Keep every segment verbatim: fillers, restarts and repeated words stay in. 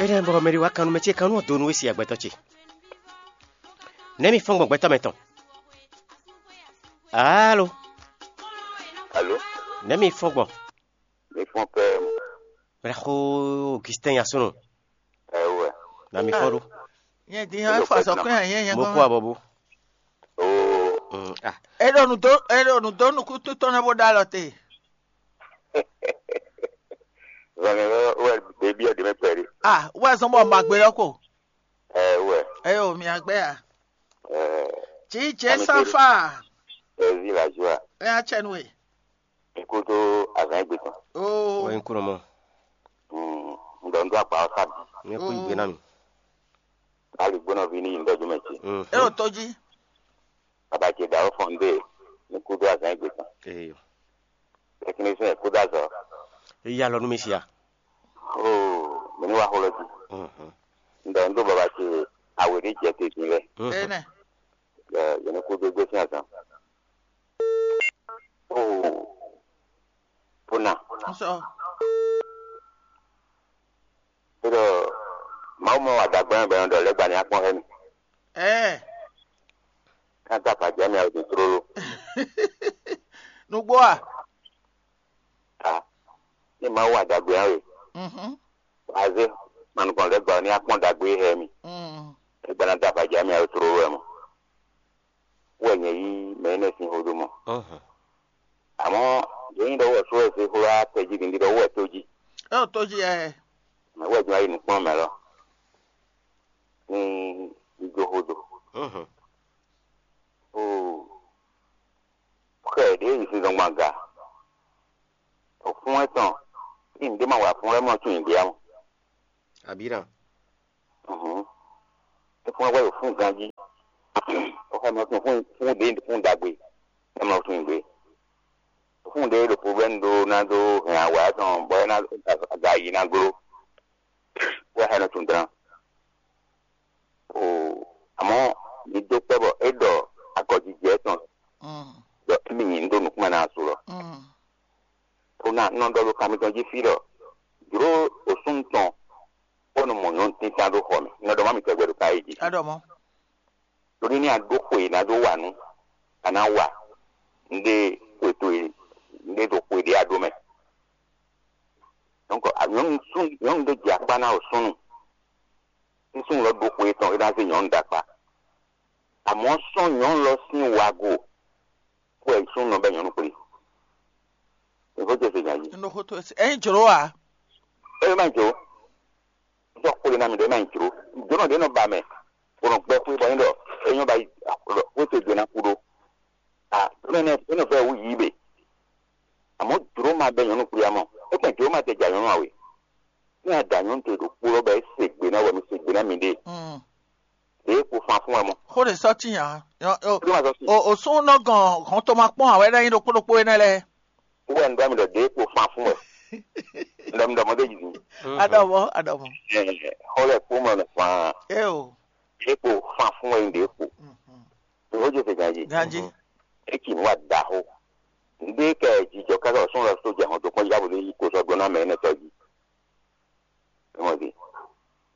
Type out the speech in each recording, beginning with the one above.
Énɛ́ bɔ mɛ ɖé wá kan nú mɛ ce, kan nú ɔ́ dó nú we si agbɛtɔ́ ce. Nɛ̌ mi fɔ́n gbɔn gbɛtɔ́ mɛ tɔn? Alo, Alo, nɛ̌ mi fɔ́n gbɔn? mi fɔn pɛɛ mu. Mɛ xó Augustin Yasunu, Ɛ wɛ. na mi fɔ́n ɖó. Nyɛ din hã fa sɔkún yɛ yɛ Mo gɔn. kó abɔbú. Oo, Mm, ah, E ɖo nu dó e ɖo nu dó nukúntún tɔn nɛ bó ɖó alɔ te. zɔnlɛ lɔ wɛ bébí ɛ dèmɛ pɛri. Ah, wɛ zɔn bɔ ma gbé lɔ ko. Ɛ wɛ. Eyo mi agbɛ ya. Ɛ Tsi jɛ sanfa. Ɛ zi la joie. E ya tsɛ nu e. Nkudo azan egbe tɔn. Oo. wɛ n kúrò mɔ. Mm, ŋdɔ ŋdɔ agba ɔsa bi. Nyɛ kú igbe na mi. Ali gbɔnɔ vi ni yi ŋdɔ jumɛ tsi. Mm. E ɖo to dzi. Baba ce da fɔn de. Nkudo azan egbe tɔn. Eyo. Technicien kudo azɔ. Eyi alɔ nú mi sia. Oo, mɛ ni wa xɔ lɔ ji. Mhm. Ŋdɔ ŋdɔ baba ce awe ɖe jɛ te din lɛ. Mhm. Enɛ. Ɛ yɛn kudo egbe sin azan. Oo, pona. N sɔ. Eɖɔ Mawu mɔ adagbɛn bɛ ɖɔ lɛgba ni akpɔn hɛ mi. Ɛɛ. Kan ta fa jami awo din tlolo. Nugbo a. Ta. Ni Mawu adagbɛn awe. Mhm. Aze manukɔn lɛgba ni akpɔn dagbe hɛ mi. Mm. Lɛgba na ta fa jami awo tlolo wɛ mɔ. Wɛ nyɛ yi mɛ ne sin hodo mɔ. Mhm. Àmọ́ yẹn nyí ɖɔ wɔ só wɛ se xló atɛjí din ɖɔ wɛ tó jí. E ɖo to dzi ɛ. Mɛ wɛ jɔ ayi nukplɔ́n mɛ lɔ. Ní ijo hodo. Mhm. Oo. Xɛ ɖě yi sin zɔngban ga. Òfún ɛtɔn ní ǹdé ma wà fún ɛmɔ tún ìgbé amɔ. Abira. Mhm. Fún ɛwɛ yóò fún ganjí. Ó xɛ mɔ fún fún fún ɖě fún ɖagbe. Ɛ mɔ fún ìgbé. Fún ɖě ɖo problème ɖó ná ɖó hɛn awǎ tɔn bɔ é ná aga yi ná gló. Wɛ xɛ nɔ tún dán. O àmọ́ mi dó kpɛ́ bɔ é ɖɔ agɔjijɛ tɔn Mm. ɖɔ émí nyi ndo nukúnmɛ ná asu lɔ. Mm. Tó ná nɔ ɖɔ ɖo kan mitɔn jí fí ɖɔ jló osún tɔn bó nɔ mɔ nyɔ̌nu tíntan ɖó xɔ mɛ. Nɔ ɖɔ má mi tɛgbɛ ɖo káyé jí. Aɖɔ mɔ. Torí ní a ɖó xwe ná ɖó wa nú a ná wa ŋɖé xwe towe ŋɖé ɖo xwe ɖé a ɖó mɛ. Donc nyɔ̌nu sún nyɔ̌nu ɖé jɛ akpá ná o súnnu. Ní súnnu lɔ ɖó xwe tɔn é ná zé nyɔ̌nu ɖó akpá. Àmọ́ sɔ́ nyɔ̌nu lɔ sín wago kó ɛ súnnu nɔ bɛ nyɔ̌nu kplé. Ìfó jẹ se nya yìí. N ɖo xo to esi. Ɛyin jló wa. Ẹ má jò. Sɔ kplé ná mi ɖe má jò. Jɔnɔ ɖe nɔ ba mɛ. Kò nɔ gbɛ xwe bɔ nyí ɖɔ é nyɔ ba yi wéte gbe ná kú ɖó. A mɛ nɛ é nɔ fẹ́ wú yí bè. Àmọ́ jló ma bɛ nyɔ̌nu kplé amɔ. É kpɛn jló ma tɛ jà nyɔ̌nu àwẹ̀. Ní a dà nyɔ̌nu te ɖo kpó lɔ bɛ é se gbe ná wɛ mi se gbe ná mi ɖe. Mm. Ɖě kpo fan fún wɛ mɔ. Xo ɖe sɔ ti nya. Jló ma sɔ sí. O o sún nɔ gɔn hɔn to ma kpɔn awɛ ɖe anyi ɖokpó ɖokpó énɛ́ lɛ́ɛ. Wɛ ŋɖɔ mi ɖɔ ɖě kpo fan fún wɛ. Ŋɖɔ mi ɖɔ mɔ ɖe yi. Aɖɔ mɔ aɖɔ mɔ. Xɔ lɛ kpó mɔ nɔ fan. E o. Ɖě kpo fan fún wɛ ɖě kpo. Ìwọ jẹ fẹ ganji. Ganji. Eki wa da xo. Ŋɖe kɛ jijɔ kaka sún lɔ só jɛ hɔn tó kpɔn yabo ní yi kó sɔ gbɔn náà mɛ énɛ́ tɔ́ jí. Ẹ mọ̀ sí.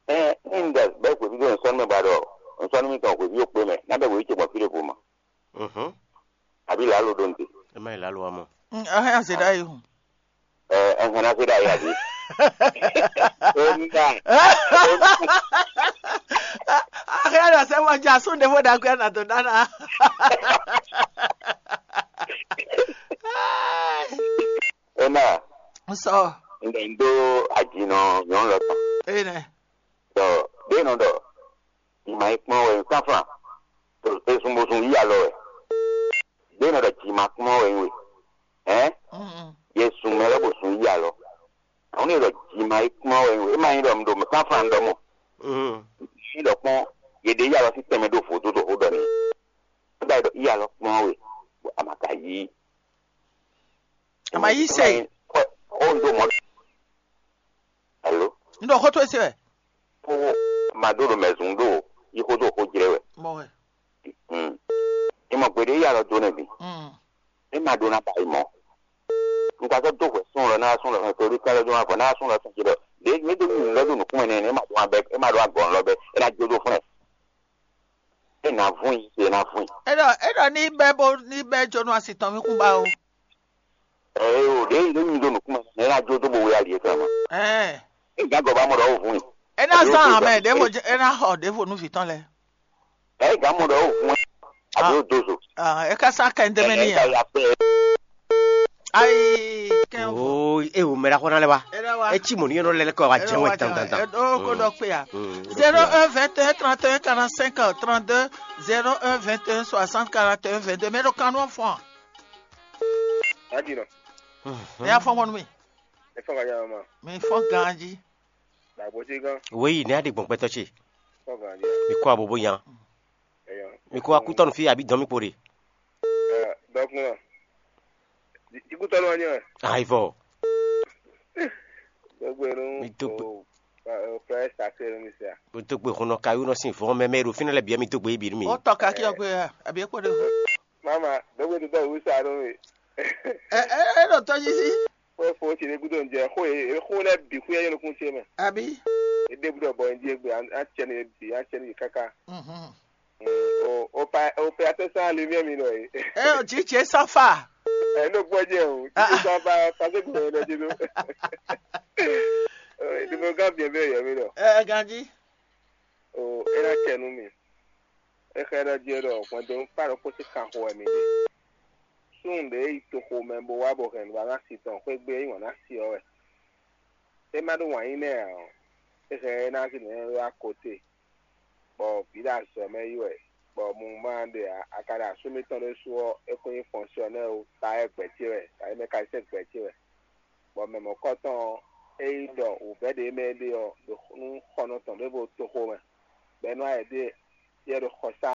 Ẹ ní ŋɖɛ bẹ́ẹ̀ kò sí tó nsọ́nù mẹ́ ba ɖɔ nsọ́nù mi tɔn kò sí yóò kpé mẹ́ náà bẹ́ẹ̀ kò sí tse gbɔn fí ɖé vo mọ́. Mhm. Àbí làálò ɖó ŋde. Ẹ má yẹ lálọ́ wa mọ́. Ahẹ́ àzẹ̀dá yìí hùn. Ẹ ẹ̀hẹ́n náà ṣe dá yà bí. Ó ń dà. Ahẹ́ àzẹ̀dá sẹ́wọ́n jẹ́ àsúndẹ̀fọ́ dàgbé ànàdọ̀ dáná. Ena N sɔ. ŋɖɛ ŋɖó ajinɔ nyɔnu lɔ tɔn. Ene. Tɔ ɖé nɔ ɖɔ ìmọ̀ ìkpɔn wɛ nǹkan fún un. Èsùn bó sun yí alɔ wɛ. Ɖé nɔ ɖɔ jì ma kpɔn wɛ nyi we. Ɛ Mm. yɛ sun mɛ lɔ bó sun yí alɔ. Àwọn ní ɖɔ jì ma ìkpɔn wɛ nyi we. Ema nyi ɖɔ mi ɖo mi kan fún un ɖɔ mɔ. Mhm. Ní ɖɔ kpɔn yɛ ɖe yí alɔ sí tɛmɛ ɖó vodó ɖo xó ɖɔ ni. Nígbà yɛ ɖɔ yí alɔ kpɔn wɛ. Àmàkà yí. Àmà yí sè. Ó ń dó mọ́. Hello. N ɖo xó tó esi wɛ. Kó ma ɖó ɖo mɛ zun ɖó yi xó ɖó xó jlɛ wɛ. Mɔ wɛ. Mm. Ìmọ̀ gbèdé yà lọ dó nɛ bi. Mm. Ní ma ɖó ná ba ìmọ̀. Nígbà tó dó hwɛ sún lọ náà sún lọ sún torí kálọ̀ dó wá bọ̀ náà sún lọ sún jẹ lọ. Dé mi dó mi lọ dó nùkún mɛ nɛ ní ma dó wá ɖo agɔ̌n lɔ bɛ, é ná jó dó fún ɛ. É ná vún i, é ná vún i. É ɖɔ é ɖɔ ní bɛ́ bó ní bɛ́ jónú asi tɔn mì kún ba o. Ɛ o, ɖě ɖě nyi ɖo nukún mɛ, é ná jó dó bo wé ali é tɔn mɛ. Ɛɛ É gǎn gɔ́ ba mɔ ɖɔ ó vún i. É ná zán amɛ ɖěvo é ná xɔ ɖěvo nú vǐ tɔn lɛ́ɛ. Ɛ gǎn mɔ ɖɔ ó vún i. Àbí ó dó zo. Ah, é ká sá kɛ ndé mɛ n'i Ɛ ká a? Ya pé. Ayi kɛn o. Oo, e o mɛ ɖaxɔ na lɛ wa. É ɖá wa. Etsi mɔ ní yɔnɔ lɛ kɔ wa É jɛ ɖá wɛ wa jɛ. Tantantan. É ɖó kó ɖɔ kpé ya. Mm, ó ɖɔ kpé ya. Zéro un vingt et un trente et un quarante-cinq trente-deux, zéro un vingt et un soixante quarante et un vingt-deux. Mɛ ɖo kanú fɔn. Adi nɔ. Mɛ ya fɔn mɔnu mi. Efɔ ka ya ma. Mi fɔn ganji. Dàgbò sí gán. Wéyí ní aɖe gbɔn gbɛtɔ ce. Fɔ ganji. Mi kó abobo yan. Ẹyọ. Mi kó akútɔnu fi abi dɔn mi kpo ɖe. Dɔkun nɔ. Ikútɔnu wani ɛ. Ayi vɔ. Gbogbo nu. Mi tó gbe. O o fɛ sase nu mi se a. Mi tó gbe hun nɔ kayu nɔ sin vɔn mɛ mɛ ɖo fínɛ lɛ bia mi tó gbe ibi mi. Ó tɔ kakí ọgbẹ́ àbí é kpó ɖe. Mama, dɔgbe tó dɔ wíṣà nú mi. Ɛ ɛ ɛ ɖo tɔjí sí. Xó e fo ce ɖé gúdo un jɛ xó e xó lɛ́ɛ bǐ xwíyá yé nukún ce mɛ. Àbí? É ɖé gúdo bɔ un jí égbé, á cɛ ní bǐ, á cɛ ní káká. Mhm. O o pa o pe atɛ sán ali mí mi nɔ é. Ɛ ò jí jɛ sáfà. Ɛ ní o gbọ́ jẹ́ o, jí jẹ sáfà pàṣẹ gbọ́dọ̀ ẹ̀ lọ́jọ́ ló. Ìdìbò gán bìí ẹ̀ bẹ́ẹ̀ yẹ mí nọ. Ɛ ganjí. O é ná cɛ nú mi. É xlɛ́ ɖɔ jí é ɖɔ hwɛndo kpá ɖokpó sín kanxo wɛ mi ɖe. Súnnu ɖě yi toxo mɛ bó wá bɔ hɛn nǔ wa ná si tɔn xwé gbé é nyí wǎn ná si ɔ́ wɛ. É má ɖó wǎn yí nɛ́ ǎ ɔ́, é hɛn é ná zi nǔ nylá kote, bɔ vǐ ɖo azɔ̌ mɛ yi wɛ, bɔ mu ma ɖe ǎ, a ka ɖo asú mitɔn ɖésú ɔ́, é kún nyí fɔnsyɔnɛ́ ó, ta wɛ gbɛ̌ ce wɛ, ta wɛ mɛ ka sɛ́ gbɛ̌ ce wɛ. Bɔ mɛ mɔ̌kɔtɔn ɔ́, é yi ɖɔ wǔvɛ́ ɖě mɛ é ɖe ɔ́ ɖo nú xɔnɔ tɔn ɖěvo toxo mɛ, bɔ é nɔ wá yɛ ɖe yɛ ɖo xɔsá,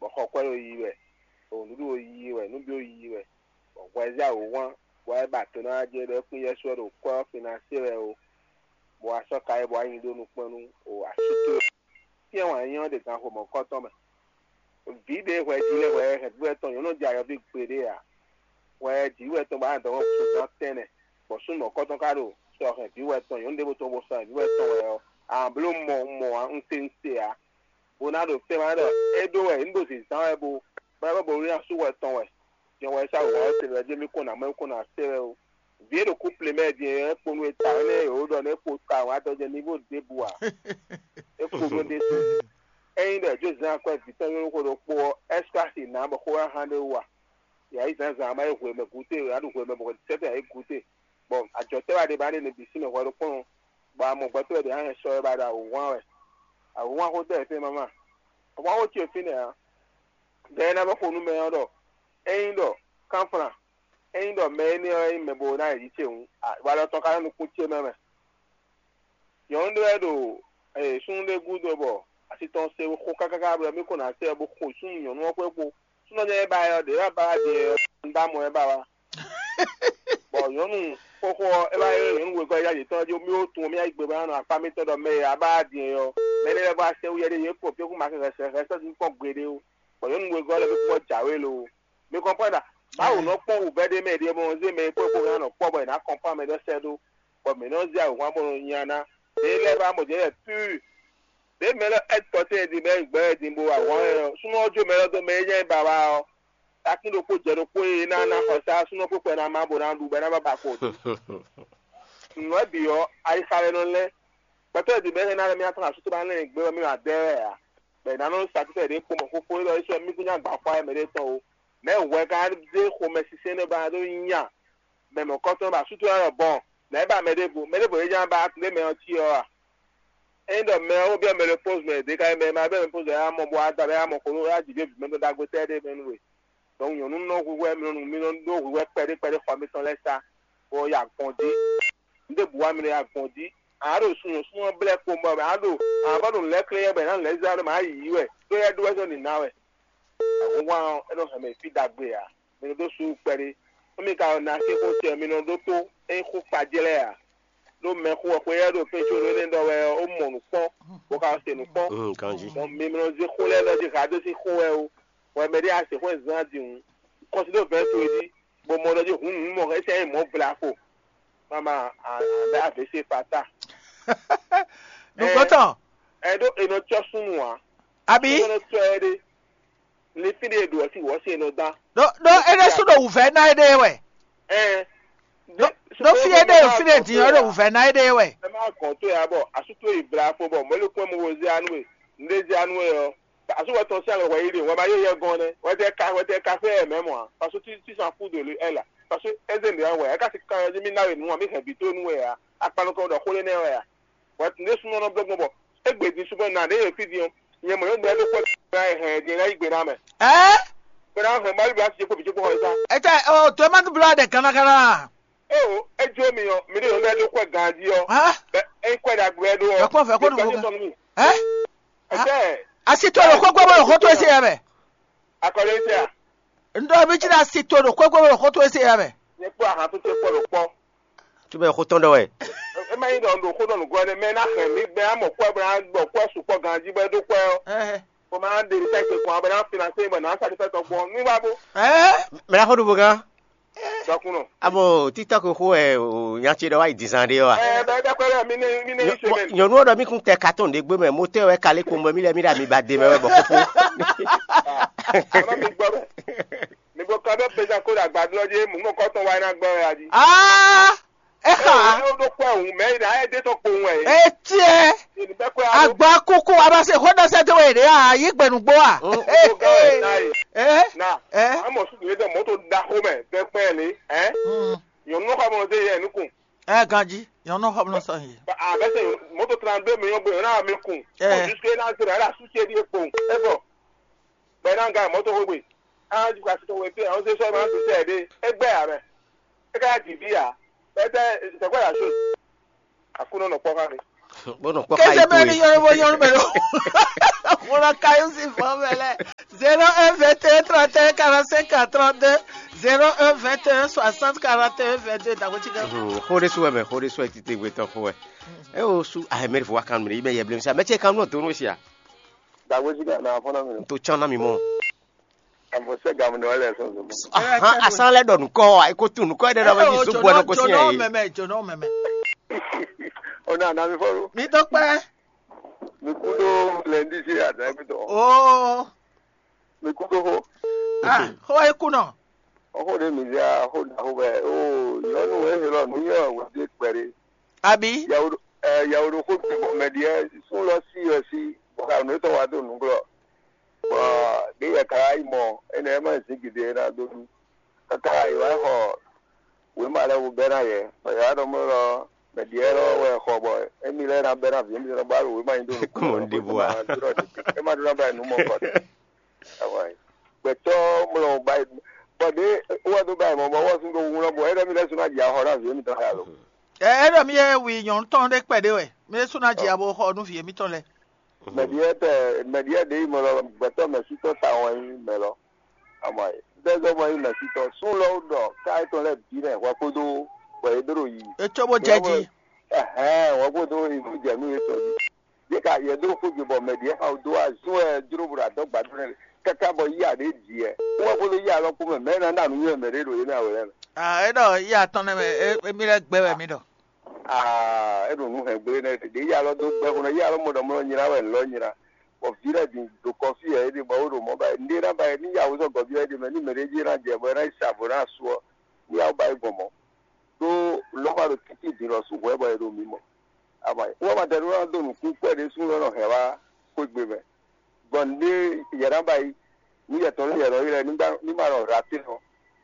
bɔ xɔkwɛ́ ɖo yiyi wɛ, bɔ nǔɖuɖu ɖo yiyi wɛ, nǔ bǐ ɖo yiyi wɛ, bɔ hwɛ zé awǒhwan, bɔ é ba to ná wá jɛ ɖɔ é kún yɛ́ sú wɛ ɖo kwɛ́ ɔ́ fin ná se wɛ ó, bɔ wá sɔ́ ka é bɔ wá nyi ɖó nukpɔ́n nú o asú towe. Syɛ́n wǎn yíyí ɔ́ ɖe ganxo mɔ̌hunkɔtɔn mɛ. Vǐ ɖě hwɛ jí lɛ́ɛ hwɛ hɛn vǐ wɛ tɔn nyɔ̌nu jɛ ayɔví gbeɖé ǎ. Hwɛ jǐ wɛ tɔn bɔ á dɔn xo zán tɛnɛ, bɔ súnnu mɔ̌hunkɔtɔn ka ɖo sɔ hɛn vǐ wɛ tɔn nyɔ̌nu ɖěvo tɔn bo sɔ hɛn vǐ wɛ tɔn wɛ ɔ́, a nǎ bló mɔ mɔ ǎ, un se un se ǎ. Bó ná ɖo fɛ́n wá ɖɔ é ɖó wɛ, un ɖo zǐnzán wɛ bo bɔ é bɔ bo ná sú hwɛ tɔn wɛ. Jɛn hwɛ sá wǔ wá ɔ́ se wɛ jɛ́n mì kɔn nǎ mɔ é kɔn nǎ se wɛ ó. Vǐ e ɖo kúple mɛ din é kpo nú e ta énɛ́ e wǒ ɖɔ nú é kpo ta wǎ dɔjɛ nívo ɖěbǔ ǎ. É kpo nú ɖésú. Ényí ɖɔ è jó zán akwɛ́ vǐ tɔn nyɔ́ xó ɖokpó ɔ́, ɛ́skási nǎ bɔ xó wá hán ɖé wú a? Yǎ yí zǎnzǎn má yi hwemɛ gǔté, yǎ ɖu hwemɛ bɔ sɛ́tɛ́ yǎ yí gǔté. Bɔ ajɔ̌tɛ́ wá ɖe ba ɖe nɛ bǐ sín mɛ hwɛ ɖokpónɔ, bɔ a mɔ gbɛtɔ́ lɛ́ɛ ɖě hɛn sɔ wɛ ba ɖo awǒ hwan wɛ. Awǒ hwan xó tɛ́ fɛ́n mama. Awǒ hwan xó ce fínɛ́ ǎ. Ɖɛ e ná vɔ́ xo nú mɛ ɔ́ ɖɔ, ényí ɖɔ kánflán, ényí ɖɔ mɛ énɛ́ ɔ́ nyí mɛ bo ná yi jǐ ce hǔn, walɔ tɔn ka nɔ nukún ce mɛ mɛ. Nyɔ̌nu ɖé wɛ ɖo súnnu ɖé gúdo bɔ asi tɔn se xo káká bɔ mí ko ná sɛ bó xo súnnu nyɔ̌nu ɔ́ xwé kpo. Súnnu ɔ́ jɛ́n é ba ɛ ɔ́, ɖě wá ba wá din ɔ́, un ɖó amɔ ɛ ba wá. Bɔ nyɔ̌nu xóxó ɔ́, é wá ylɔ́ nyɔ̌nu wegɔ́ yá yětɔn jí mì ó tunwun mì yá yi gbe bó ná nɔ akpá mítɔn ɖɔ mɛ e a ba wá din ɔ́, mɛ énɛ́ lɛ́ɛ vɔ wá sɛ́ wú yɛ ɖé yě kpo fí kún ma kɛ hɛsɛ hɛsɛ sín kpɔ́n gbeɖé ó. Bɔ nyɔ̌nu wegɔ́ lɛ́ɛ bǐ kpɔ́n jǎwe lo. Mi kɔnpɔ́n ɖɔ Mawu nɔ kpɔ́n wǔvɛ́ ɖé mɛ ɖíe bɔ un zé mɛ e kpó e kpó ná nɔ kpɔ́ bɔ è nǎ kɔnpɔ́n mɛ ɖɔ sɛ́ ɖó, bɔ mǐ nɔ zé awǐnhwan bó nɔ nya ná. Mɛ lɛ́ɛ ba mɔ jɛ̌ pur. Ɖě mɛ lɛ́ɛ ɛ́ tɔ tɛ́ din bɔ é gbɛ́ din bó wa hɔn ɛ ɔ́, súnnu ɔ́ jó mɛ lɛ́ɛ dó mɛ e nyá ɛ ba wá ɔ́, takín ɖokpó jɛ ɖokpó e ná ná xɔsá súnnu ɔ́ kpókpɔ ná má bó ná ɖu bɔ é ná ba ba kpo. Nǔ ɔ́ bǐ ɔ́, ayixa wɛ nɔ lɛ́. Gbɛtɔ́ e din bɔ é ná lɛ́ mì atɔ́ asú tó bá lɛ́ gbé wɛ mì ma dɛ wɛ ǎ. Bɔ è nǎ nɔ sa títɛ ɖě kpo mɔ xóxó élɔ́ é sɔ́ mì kún nya gbǎ xwa ɛ mɛ ɖé tɔn ó. Nɛ̌ hwɛ ka zé xomɛsinsɛn nɛ́ ba ɖó nya mɛ mɔ̌kɔtɔn bɔ asútúlá lɔ bɔn nɛ̌ ba mɛ ɖěvo mɛ ɖěvo e nya ba ɖé mɛ ɔ́ cí ɔ́ a? Ényí ɖɔ mɛ ɔ́ ko byɔ́ mɛ ɖokpó mɛ ɖě ka nyí mɛ e ma byɔ́ mɛ ɖokpó zɔn yá mɔ bó wá da bɔ yá mɔ xó ɖó yá jǐ ɖěbǔ mɛ ɖó ɖagbe tɛ́ ɖé mɛ nú we. Donc nyɔ̌nu nɔ hwíhwɛ́ mi nɔ mi nɔ ɖó hwíhwɛ́ kpɛɖé kpɛɖé xɔ mitɔn lɛ́ɛ sá bó ya gbɔn jí. Nǔ ɖěbǔ wá mi nɔ ya gbɔn jí. A nǎ ɖo sunyɔ̌súnnu ɔ́ blɛ́ kpowun bɔ a nǎ ɖo a nǎ vɔ́ ɖo nǔ lɛ́ɛ klé yɛ bɔ è nǎ nǔ lɛ́ɛ zlá ɖó mǎ yi yǐ wɛ ɖó yɛ ɖó wɛ zɔ́n nǐ ná wɛ. Ahunhwan ɔ́, é nɔ hɛn mɛ fí ɖagbe ǎ. Mi nɔ dó sú kpɛɖé. Nú mi ka ɖo na xixo ce ɔ́, mi nɔ ɖótó. Ényí xó kpa jlɛ́ ǎ, ɖó mɛxó ɔ́ xweyɛ́ ɖo fɛ́nco ɖó énɛ́ ɖɔ wɛ ɔ́, é mɔ nǔ kpɔ́n, bó ka se nǔ kpɔ́n. Ganjí. Mɔ mi nɔ zé xó lɛ́ɛ ɖɔ jí ha dó sín xó wɛ ó. Hwɛ mɛ ɖé a se xó e zán din hǔn, kɔsi ɖó vɛ̌ɛn towe jí, bɔ mɔ ɖɔ jí hǔn nǔ mɔ é sɛ́ nyí mɔ̌ vla ko. Mama, a a bɛ avě se fata. Nukɔntɔn. nɔ cɔ́ súnnu ǎ. Abi? Nɔ cɔ́ ɛ ɖe. Ní fí ɖé ɖo ɔsí wɔ̌ se nɔ dán. Ɖó ɖó éɖé sú ɖo wǔvɛ́ ná éɖée wɛ. Ɛn. Ɖó ɖó fí éɖée fí ɖé din ɔ́ ɖo wǔvɛ́ ná éɖée wɛ. Ɛ má gɔn tó ya bɔ asú tó yi bla fo bɔ mɔ̌ lé kún ɛ mɔ wo zé anú e. Nɖé zé anú e ɔ́. Asú wɛ tɔn sí àgbà wɛ yi ɖe wɛ ma yé yɛ gɔn nɛ. Wɛ tɛ ka wɛ tɛ ka fɛ ɛ mɛ mɔ a. Parce que tu tu s'en fous de lui elle. Parce que eze nɖe wɛ ɛ ka si kan ɛ mi na we nu a mi hɛn bi tó nu wɛ a. Akpanu kɔ ɖɔ xó lé nɛ wɛ a. Wɛ ne súnmọ́ nɔ blɔ́ gbɔn bɔ égbè din súnmọ́ nà ɖé yě fí din ɔ́, nyɛ mɔ yóò ɖɔ ɖó kpɔ́ ná hɛn din ná yí gbe ná mɛ. Ɛ Gbe ná hɛn Mawu bí a ti kpó bìtú kpó xɔ yíká. Etsɛ o to ema tu blɔ ɖe gana gana. Eo, é jó mi ɔ, mi ɖé yóò ɖɔ ɖó kpɔ́ ganjí ɔ. Hã? Bɛ é kpɔ́ ɖagbe wɛ ɖó ɔ. Yɔ kpɔ́n fɛ kó ɖu Gbɛdí fún tɔn mi. Ɛ Ɛtɛ, asi to ɖo kókó bɔ ɖo xó to esi yɛ mɛ. Akɔlé tɛ a. N ɖɔ mi tsi ɖe asi to ɖo kókó bɔ ɖo xó to esi yɛ mɛ. Nyɛ kpɔ́ ahan tó tɛ kpɔ́ ɖo kpɔ́. Tubɛ xó tɔn ɖɔ wɛ. Ema yi ɖɔ ɖo xó ɖɔ nǔgbɔ ɖe mɛ ná hɛn mi gbɛ amɔ kpɔ́ bɔ ná gbɔ kpɔ́ sukpɔ́ ganjí bɔ é ɖó kpɔ́ ɔ. Ɛ Bɔ ma ɖe ɖi tɛ́sí kɔn bɔ ná finasé bɔ ná sa ɖi fɛ́ tɔn gbɔn. Mi wá bó. ɛ Mɛ na xó ɖu bó gán. Dɔkun nɔ. Abo TikTok xó ɛ o nya ce ɖɔ wá yi dizan ɖé wa. Ɛ bɛ bɛ kpɛ bɛ mi ne mi ne yi semaine. Nyɔnu ɔ́ ɖɔ mí kún tɛ carton ɖé gbé mɛ motɛ wɛ kalé kpomɔ mí lɛ mí ɖa mi ba de mɛ wɛ bɔ xóxó. Ama mi gbɔ bɛ. Mi gbɔ kan bɛ pesa ko ɖe agbadlɔ dzi mu nɔ kɔtɔn wa yi na gbɔ ya dzi. Aa exa Ɛ ɖo kpɛ wu mɛ yi na ɛ de tɔ kpo wɛ. etiɛ Ni bɛ kpɛ alo. Agba kúkú abase xɔdɔsɛ tó wɛ ɖe a yi gbɛnugbo a. Ko ga wɛ na yi. Ɛ Na. ɛ Amɔ su mi dɔ mɔto da xo mɛ bɛ kpɛ le. Ɛ. Nyɔnu nɔ xɔ mɔ se yɛ nukun. Ɛ ganji nyɔnu xɔ mi sɔ yi. A bɛ se mɔto trente-deux millions bɛ na mi kun. Ɛ. Jusque na se la su se di kpo. E bɔ. Bɛ na ga mɔto xo gbe. A ju ka se to we pe. An se sɔ ma tu se de. E gbɛ ya mɛ. E ka di bi ya. Bɛ tɛ c'est quoi la chose? Akunɔ nɔ kpɔ ka mi. Bó nɔ kpɔ Kese ka mɛ ni yi yɔrɔ bɔ yɔrɔ mɛ lo. Wala kayo si fɔ mɛ lɛ. Zéro un vingt et un trente et un quarante-cinq quarante-deux, zéro un vingt et un soixante quarante et un vingt-deux, d'accord, tu gagnes. Xó ɖé sú wɛ mɛ xó ɖé sú wɛ títí gbé tɔn xó wɛ. E o sú ahɛmɛ fo wa kan mi yi mɛ yɛ blemi sa mɛ ce kan nɔ donu sia. Dagbo dzi ka na afɔ na mi. To can na mi mɔ. Avɔ sɛ gamu dɔ lɛ sɔn sɔn. Ahan asan lɛ ɖɔ nukɔ wa e ko tu nukɔ ɖe ɖɔ bɛ yi so bɔ nɔ ko si Jonɔ yɛ. mɛmɛ, jonɔ mɛmɛ. O na na mi fɔ lo. Mi dɔ kpɛ. Mi ku do lɛndi si ada mi tɔ. Oo. Mi ku do ho. Ah, xɔ eku nɔ. Ɔxo ɖe mi zia xo da xo bɛ o nyɔnu e he lɔ nu yɛ wɛ de kpɛ ɖe. Abi. Yawo ɛ yawo ɖo xo te bɔ mɛ ɖiɛ sun lɔ si yɔ si bɔ ka nu etɔn wa do nuglɔ. Bɔ ɖe yɛ ka yi mɔ enɛ ma zin gidi e na do nu. Kaka yi wa xɔ wema lɛ wo bɛ na yɛ bɔ yɛ wa ɖɔ mɔ lɔ mɛ ɖiɛ lɔ wɛ xɔ bɔ emi lɛ na bɛ na vi mi lɛ ba ɖo wema yi do nu. Kɔmɔ n ɖe bo a. E ma ɖo na ba nu mɔ kɔ ɖe. Awa yi. Gbɛtɔ mlɔ ba yi. Bɔ ɖe wɔ do ba yi mɔ bɔ wɔ sun do wun lɔ bɔ e ɖɔ mi lɛ sun na dzi axɔ na vi mi tɔ ya lo. Ɛ ɛ ɖɔ mi yɛ wi nyɔnu tɔn ɖe kpɛ ɖe wɛ. Mi su na dzi abo xɔ nu vi mi tɔn lɛ. Mɛɖiɛ tɛ mɛɖiɛ ɖe yi mɔ lɔ gbɛtɔ mɛ sutɔ ta wɔn yi mɛ lɔ. Ama yi. Dɛzɔ mɔ yi mɛ sutɔ. Sun lɔ ɖɔ ka etɔn lɛ bi nɛ hwɛ kodo bɔ e ɖo yi. Etso bo jɛ ji. Ɛhɛn, wɔ ko do ibu jɛ nu yetɔ di. Ye ka yɛ do ko jo bɔ mɛ ɖiɛ ka do azun ɛ jro bo adɔ gbadɔ nɛ kaka bɔ yi aɖe di ɛ. Wɔ ko do yi alɔ ko mɛ mɛ na na nu yɛ mɛ ɖe ɖo ye mɛ awɛ lɛ. Ah, e ɖɔ yi atɔn nɛ mɛ, e mi lɛ gbɛ wɛ mi ɖɔ. Ah, e ɖo nu hɛn gble nɛ ɖe yi alɔ do gbɛ ko nɔ yi alɔ mɔ ɖɔ mɔ nyina wɛ lɔ nyina. Bɔ vi lɛ di do kɔfi ɛ ɖe bɔ wo ɖo mɔ ba nɖe na ba ni ya wo zɔ gɔbi ɛ ɖe mɛ ni mɛ ɖe dzi na jɛ bɔ na yi sa vo na su ɔ. Ni ya ba yi gbɔn mɔ. Ɖó lɔma ɖo títí din lɔ su hwɛ bɔ e ɖo mi mɔ. Ama wɔ ma dɛ ɖó ná dó nǔkún kpɛɖé sú lɔ nɔ hɛn wá xwégbe mɛ. Gbɔn ɖé yɛ ná ba yi ní yɛ tɔn ní yɛ nɔ yi lɛ ní ma nɔ hla tɛ́ nɔ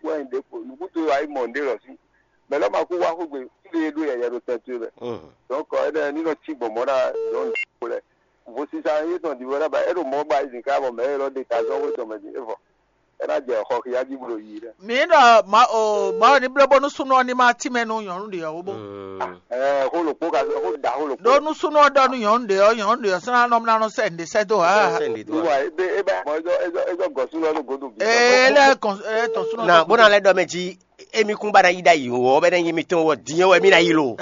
wɛ nyi ɖě kpo nǔkúnto wá yi mɔ nǔɖé lɔ sí. Mɛ lɔ ma kú wá xwégbe fí ɖé ɖó yɛ yɛ ɖo tɛn towe mɛ. Donc ɛnɛ ní nɔ cí gbɔn mɔ̌ ná nyɔ̌nu ɖokpó lɛ. Vo sisa yétɔn ɖi wɛ ná ba é ɖo mɔ̌ ba yi zǐn ká bɔ mɛ élɔ́ ɖe ta zɔ́n xwé tɔn mɛ din é vɔ. É ná jɛ xɔ xia jí bó ɖo yiyi ɖɛ. Mi ɖɔ ma o ma ɔ ní bló bónú súnú ɔ ní ma tí mɛ nú nyɔ̌nu ɖě ɔ́ bó. Ɛɛ xó lòkpó ka xó da xó lòkpó. Ɖó nú súnú ɔ ɖɔ nú nyɔ̌nu ɖě ɔ́, nyɔ̌nu ɖě ɔ́ sɔ́ ná nɔ ná nɔ sɛ nǔɖé sɛ́ dó ha. Sɛ nǔɖé dó Bí wa. Wà é bɛ é bɛ mɔ é zɔ é zɔ é zɔ gɔ̀sún lɔ ló godo bí. Ee lɛ kɔn ɛ tɔn súnú. Na bó na lɛ ɖɔ mɛ jí émi kún ba na yi ɖa yi wɔ bɛ ne yi mitɔn wɔ diɛ wɛ mi na yi lo.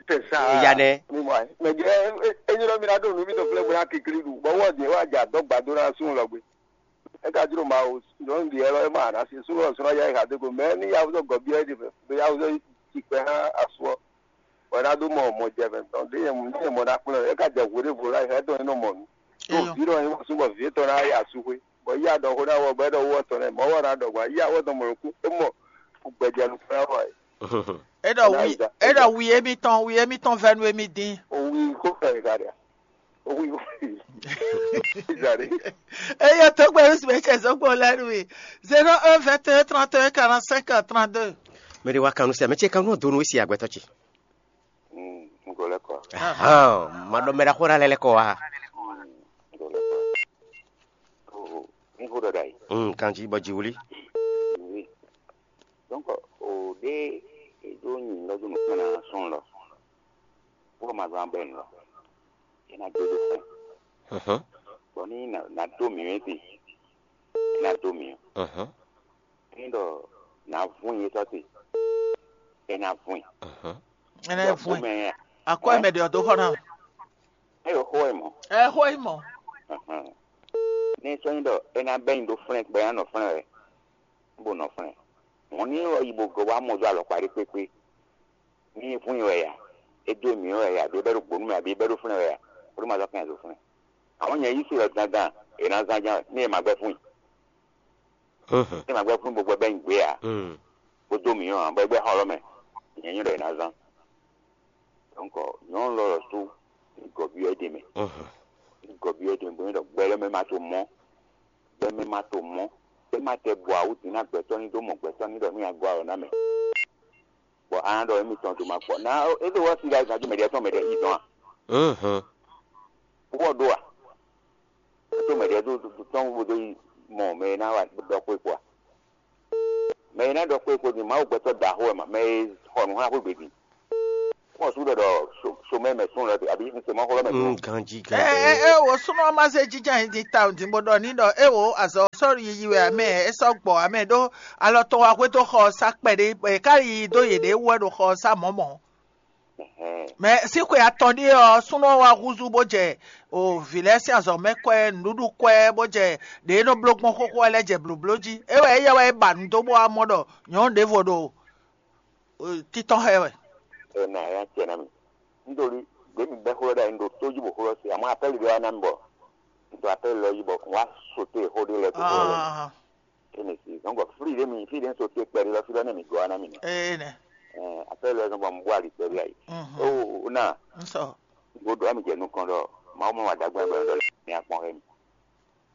Tɛ sa. Eya nɛ. Mi mɔ ɛ mɛ jɛ é é nyɔ́ mi na ɖo nǔ mi tɔ flɛ bó na kikli ɖu bɔ wɔ diɛ wà jà dɔgba dó na sún lɔ gbé. É ka jló Mawu nyɔ̌nu ɖi élɔ́ é ma ná sí súnnu ɔ́ súnnu yá é ha dó go mɛ ní yavuzɔ́ gɔ̌ byɔ́ é ɖi mɛ ɖo yavuzɔ́ yi kpɛ hán asú ɔ́, bɔ é ná dó mɔ mɔ jɛ mɛ tɔn ɖé nyɛ mɔ ní nyɛ mɔ ná kplɔ́n é ka jɛ hwěɖěvo lá é hɛn tɔn é nɔ mɔ nǔ. Ɖo vǐ ɖɔ nyɛ mɔ súnbɔ vǐ étɔn ná yi asúxwé, bɔ yí aɖɔxó ná wɔ bɔ é ɖɔ wó tɔn lɛ́ɛ mɔ̌ wɔ ná ɖɔ gbɔn yí awɔ tɔn mɔ̌ kú é mɔ gbɛjɛ nukún ná wɔ ɛ. É ɖɔ wi é ɖɔ wi émítɔn wi émítɔn vɛ́ nú émí dín. Owi kó fɛ ka ɖe. Owi kó fɛ. Izali. Eye tó gbé wísí mɛ cɛ zɔ́gbó lɛ́ nú mi. Zéro un vingt et un trente et un quarante-cinq trente-deux. Mɛ ɖé wá kanú sɛ mɛ ce kanú donu wísí agbɛtɔ ce. Ngolɛ kɔ. Ahan, ma ɖɔ mɛ ɖaxó ɖa lɛ lɛ kɔ wa. Ngolɛ kɔ. Ní xó ɖɔ ɖa yi. Mm, kanji bɔ ji wuli. Oui. Donc, o ɖe e ɖo nyi lɔ do nukpɔn na sɔn lɔ. Wo ma zan bɛ lɔ. E na do do fɛn. Mhm. Bɔ ni na na do mi wɛ ti. E na do mi. Mhm. Ni ɖɔ na vun ye tɔ ti. E na vun. Mhm. Ɛnɛ vun. Mɛ ya. Akɔ mɛ ɖe ɔdɔ xɔ na. E yo xo e mɔ. Ɛ xo e mɔ. Mhm. Ni sɔ nyi ɖɔ e na bɛ nyi do flɛn gbɛ ya nɔ flɛn wɛ. Bo nɔ flɛn. Mɔ̌ ní wɔ yi bo gɔ́ wá mɔ dó alɔkpa ɖé kpékpé. Ní vún i wɛ ya, é dó mǐ wɛ ya, ɖó bɛ́ ɖo gbǒ nú mì, abǐ bɛ́ ɖo flɛ́n wɛ ya, bó ɖó ma zɔ́ kɛn zo flɛ́n. Àwọn nyɛ yí se wɛ dandan, è nǎ zán ján, ní è ma gbɛ́ fún i. Ní è ma gbɛ́ fún i bó gbɛ bɛ́ nyi gbě ǎ, bó dó mǐ ɔ́ ǎ, bɔ é gbɛ́ xɔ lɔ́ mɛ, nyɛ nyí ɖɔ è nǎ zán. Donc, nyɔ̌nu lɔ lɔ sú ní gɔ̌byɔ́ é ɖe mɛ. Ní gɔ̌byɔ́ é ɖe mɛ, bó nyí ɖɔ gbɛ lɔ́ mɛ ma to mɔ̌, gbɛ mɛ ma to mɔ̌, é ma tɛ bɔ awǔ din ná gbɛtɔ́ ní dó mɔ gbɛtɔ́ ní ɖɔ ní a gɔ́ alɔ ná mɛ. Bɔ a nǎ ɖɔ émítɔn dó ma kpɔ. Ná é ɖo wá si ɖa gǎn dó mɛɖé tɔn mɛɖé yi dɔn a? Wɔ ɖó a? É tó mɛɖé dó tɔn bó dó yi mɔ mɛ e ná wa ɖɔ xwé kpó a? Mɛ e ná ɖɔ xwé kpó din Mawu gbɛtɔ́ ɖaxó wɛ ma, mɛ e xɔ nǔ xá xwé gbe din. Xɔ sú ɖɔ ɖɔ somɛ mɛ sún lɔ abǐ somɛ xɔ lɔ mɛ sún. Ganjí ɛ ganjí. Ɛ ɛ wo súnɔ ma zé jínjɔ́n ayǐ din tawun din bó ɖɔ ní ɖɔ é wo azɔ̌ sɔ́ yiyi wɛ amɛ é sɔ́ gbɔ amɛ ɖó alɔ tɔn wá xwedó xɔ ɔ́ sá kpɛɖé bɔ è ká yi dó yěɖée wú wɛ ɖo xɔ ɔ́ sá mɔ̌mɔ̌. Mɛ sín xwe atɔn ɖíe ɔ́, súnɔ wá húzú bó jɛ o vǐ lɛ́ɛ sín azɔ̌ mɛ kwɛ́, nǔɖuɖu kwɛ́, bó jɛ ɖě e nɔ bló gbɔn xóxó wɛ lɛ́ɛ jɛ blǒbló jí. É wɛ éyɛ́ wɛ é ba nǔ dó bó wá mɔ ɖɔ nyɔ̌nu ɖěvo ɖo títɔ́n xá ɛ wɛ. Ena ya cɛ na mi. Nítorí gbé mi bɛ́ xó lɔ ɖ'ayǐ ɖo tó jí bɔ xó lɔ se, àmọ́ apɛ́li ɖé wá ná mi bɔ nítorí apɛ́li lɔ yí bɔ wá sote xó ɖé lɛ tó xó lɔ lɛ. Ene si zɔn bɔ fli ɖé mi fli ɖé so te kpɛɖé lɔ fí lɔ nɛ mi gɔ́ ná mi nɛ. Ene. Apɛ́li lɔ zɔn bɔ mi bó ali kpɛɖé ayi. O na. Nsɔ. Gbódò ami jɛ nukɔn ɖɔ Mawu mɔ wà dàgbà gbà ɖɔ mi akpɔn hɛ mi.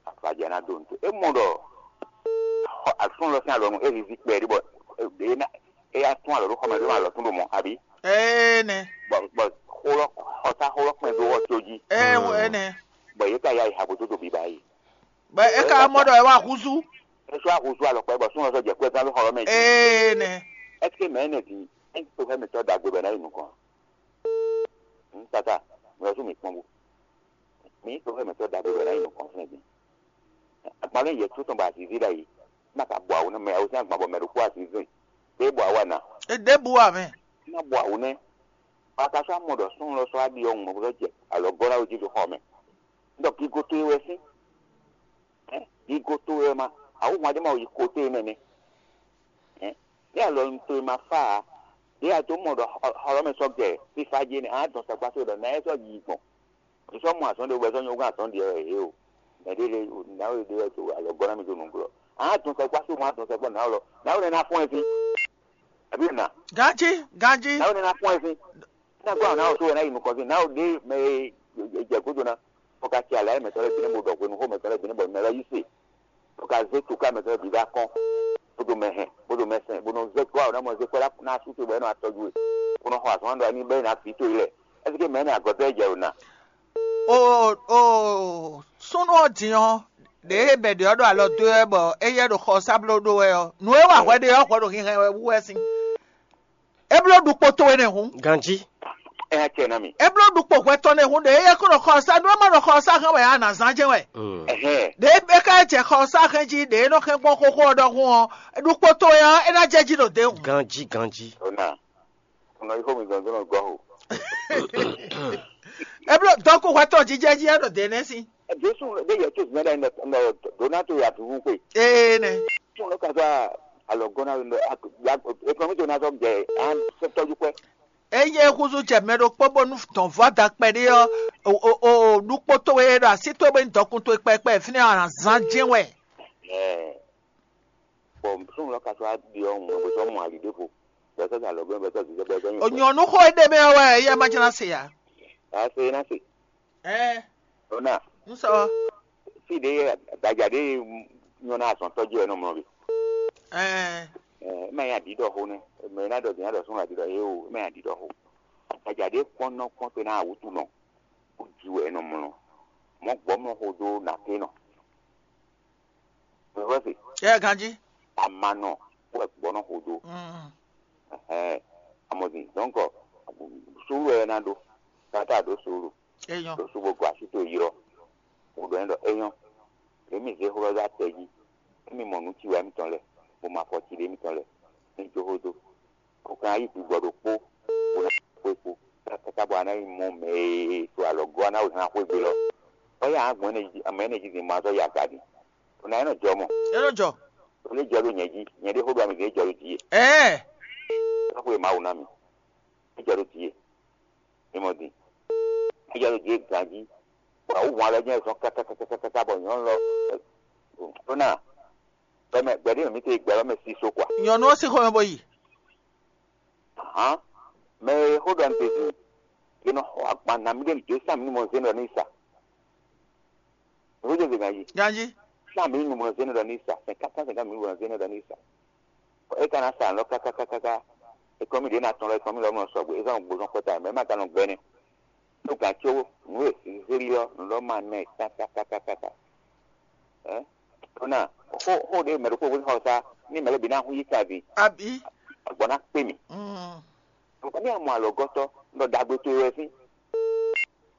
Afaja ná dó nto. E mɔ ɖɔ asún lɔ sín alɔnu e zizi kpɛɖé bɔ ɖé ná e yá tún alɔ ɖó xɔmɛ ɖó alɔ tún ɖo mɔ abi. Ene. Bɔ bɔ xolɔ xɔta xolɔ kpɛn ɖó wɔ tó jí. Ene. Bɔ yě ka yá yi ha bó dó do biba yi. Bɔ é ka mɔ ɖɔ é wá húzú. É sɔ́ ahúzú alɔkpa bɔ súnmọ́ sɔ́ jɛ kúɛ gán ló xɔ lɔ mɛ jí. Ene. Ɛsike mɛ énɛ́ din é ń to xɛ́ mǐtɔn ɖagbe bɔ é ná yi nukɔn. Tata, mi lɔ sú mi kpɔ́n bó. Mi yi to xɛ́ mǐtɔn ɖagbe bɔ é ná yi nukɔn fún ɛgbẹ́. Agban ló yɛ tó tɔn bɔ azǐzí ɖ'ayǐ. Má ka bɔ awǔ nú mɛ awúsín agban bɔ mɛ ɖokpó azǐzí. Ɖé bɔ awú ana. Ɖěbǔ wà mɛ. Má bɔ awǔ nɛ́. Bɔ a ka sɔ́ amɔ ɖɔ súnnu lɔ sɔ́ aɖi ɔ́ ŋmɔ bó sɔ́ jɛ alɔ gɔ́ ná wé jí ɖo xɔ mɛ. Ɖɔ gigo towe wɛ sín. Gigo towe wɛ ma, awǔ hwan ɖé ma yi ko towe mɛ nɛ́. Ní alɔ towe ma fá ǎ, ɖé a dó mɔ ɖɔ xɔlɔ́mɛ sɔ́ gɛ fífá jí énɛ́, a dɔn sɛkpá só ɖɔ ná é sɔ́ yi gbɔn. Mi sɔ́ mɔ azɔn ɖé wɛ sɔ́ nyɔ́gán atɔn ɖe wɛ ě o. Mɛ ɖé lé ná wɛ ɖé wɛ to alɔ gɔ́ ná mi dó nǔglɔ́. A dɔn sɛkpá só ma dɔn sɛkpá ná lɔ. Ná wɛ ná fɔ́n ɛ sín. Àbí nà. Ganjí, ganjí. Ná wɛ ná fɔ́n ɛ sín. Ná gbọ́ àwọn náà tó wɛ ná yi nukɔn sín. Ná wɛ ɖé mɛ e jɛ gúdo ná. Bó ka tsi alǎ mɛtɔn lɛ́ɛ bǐ nɛ́ bó ɖɔ hwenu xó mɛtɔn lɛ́ɛ bǐ nɛ́ bɔ mɛ lɛ́ɛ yí se. Bó ka zé tuká mɛtɔn lɛ́ɛ bǐ ɖó akɔ́n. Bó ɖo mɛ hɛn, bó ɖo mɛ sɛn, bó nɔ zé gbɔ àwọn náà mɔ zé kwɛ́ ná sú te bɔ é nɔ atɔ́jú we. Bó nɔ xɔ azɔn ɖɔ ní bɛ́ ná vǐ towe lɛ. Ɛseke mɛ énɛ́ agɔ̌tɔ́ e jɛ ɖo na? O o súnnu ɔ́ din ɔ́, ɖě e bɛ̌ ɖě ɔ́ ɖo alɔ dó wɛ bɔ éyɛ́ ɖo xɔ sábló ɖó wɛ ɔ́, nǔ e wa hwɛ ɖe ɔ́ hwɛ ɖo hinhɛn wɛ wú wɛ sín. É bló ɖukpo towe nɛ́ hǔn. Ganjí. Ɛ yá cɛ ná mi. É bló ɖukpo hwɛ tɔn nɛ́ hǔn ɖě éyɛ́ kó ɖo xɔ sá nú é má ɖo xɔ sá hɛn wɛ á nǎ zán jɛ́n wɛ. Ɛhɛn. Ɖě é ka jɛ xɔ sá hɛn jí ɖě é nɔ hɛn gbɔn xóxó ɔ́ ɖɔhun ɔ́, ɖukpo towe ɔ́, é ná jɛ jí ɖo dě hǔn. Ganjí ganjí. Ona. Ona yi xó mi dɔn dɔn gɔ́ o. É bló dɔkú hwɛ tɔn jijɛ jí é ɖo dě nɛ́ sín. Jesu ɖe yɛ tó zina ɖe nɔ dona to ya tuntun kpe. Ee nɛ. Tún ló ka sɔ alɔ gɔna nɔ ekonomi tó na sɔ jɛ an sɛ tɔjú pɛ. Eye húzú jɛ mɛ ɖokpó bónú dɔn vɔ́ da kpɛɖé ɔ́, O o o ɖukpó towe e ɖo así towe bó nyí dɔkun towe kpɛkpɛ fínɛ́ ɔ́, a nǎ zán jɛ́n wɛ. Ɛɛ, bɔ súnnu lɔ ka sɔ́ wá ɖi ɔ́ hǔn bó sɔ́ mɔ ali ɖěvo, bɔ é sɔ́ zan lɔ̌gbɛ́, bɔ é sɔ́ zizɛ, bɔ é sɔ́ nyi. Onyɔ̌nu xó e ɖe mɛ ɔ́ wɛ yɛ ma jlá se ǎ. Ǎ se ná se. Ɛɛ, Ɖó ná, un sɔ. Fí ɖě gbadza ɖě nyɔ́ ná azɔn tɔ́jú wɛ nɔ mlɔ bǐ. Ɛɛ, Ɛ, é má nyí aɖǐɖɔxó nɛ́. Mɛ e ná ɖɔ din ná ɖɔ súnnu aɖǐɖɔ é o, é má nyí aɖǐɖɔxó. Gbadza ɖě kpɔ́n nɔ kpɔ́n te ná awǔtu nɔ, bó ji wɛ é nɔ mlɔ. Mɔ̌ gbɔ̌ mlɔ xo dó nǎté nɔ. Vɛ̌ se, Yɛ ganjí. Amanɔ wɛ gbɔ̌ nɔ xo dó. Mm. Ɛhɛn, amɔzin. Donc, suúlu wɛ é ná ɖó. Káká ɖó suúlu. Eyɔn. Ɖó sú bó gɔ́ así towe ylɔ́. Bó ɖɔ n'i ɖɔ é nyɔ́. Ɖě mì zé xó lɔ dó atɛ jí. Émi mɔ nǔ ci wɛ émítɔn lɛ́ɛ, bó ma fɔ ci ɖé émítɔn lɛ́ɛ. Ní jó xó dó. Kó kan yí gbigbɔ ɖokpó, bó ná xwé kpo. Káká bɔ a ná yi mɔ mɛ e to alɔ gɔ́ a ná wɛ hɛn xwé gbe lɔ. Bɔ yá gbɔn ɛnɛ jí, mɛ ɛnɛ jí zin ma zɔ ya ga din. Ɖo ná é nɔ jɔ mɔ. É nɔ jɔ. Ɖo lé jɔ ɖo nyɛ jí, nyɛ ɖé xó ɖo ami zin é jɔ ɖo jí e. Ɛɛ. Xó e Mawu ná mi. É jɔ ɖo jí e. Mi mɔ din. É jɔ ɖo jí e ganjí. Bɔ wǔ hɔn alɔ jɛ́n zɔn kákákákáká bɔ nyɔ̌nu lɔ. Ɖó ná. Bɔ mɛ gbɛɖé mɛ mi te gbɛ lɔ mɛ si so kwa. Nyɔ̌nu ɔ́ sín xomɛ bó yi. Hǎn, mɛ e xó ɖɔ nǔ din, è nɔ xɔ agban nǎ mì ɖé nǔ dó sá mì ní mɔ zé nɔ ní sa. Nǔ dó zé ganjí. Ganjí. Sá mì ní mɔ zé nɔ ní sa. Sɛn káká sɛn ká mì ní mɔ zé nɔ ní sa. É ka ná sa nǔ kákákáká. Ekɔ́mí ɖě ná tɔn lɔ, ekɔ́mí lɔ mɔ sɔgbe, é zɔ́n gbozɔn kpɔ́ta, mɛ é ma ka nɔ gbɛ́ nɛ́. Ɖó gǎn có nǔ e zǐzílí ɔ́, nǔ lɔ ma ná ɛ kákákákáká. Ɛ? Ɖó ná, xó xó ɖé mɛ ɖokpó xó xɔ sá, ní mɛ lɛ́ɛ bǐ ná hu yí ka din, Abi. Agbɔ̌ ná kpé mì. Mm. Nukɔn ní amɔ alɔgɔ́tɔ́, nɔ ɖagbe towe wɛ sín.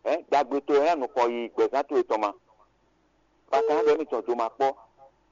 Ɛ? Ɖagbe towe ná nukɔn yi gbɛ̌zán towe tɔn ma. Bakan ɖɔ émítɔn do ma kpɔ́,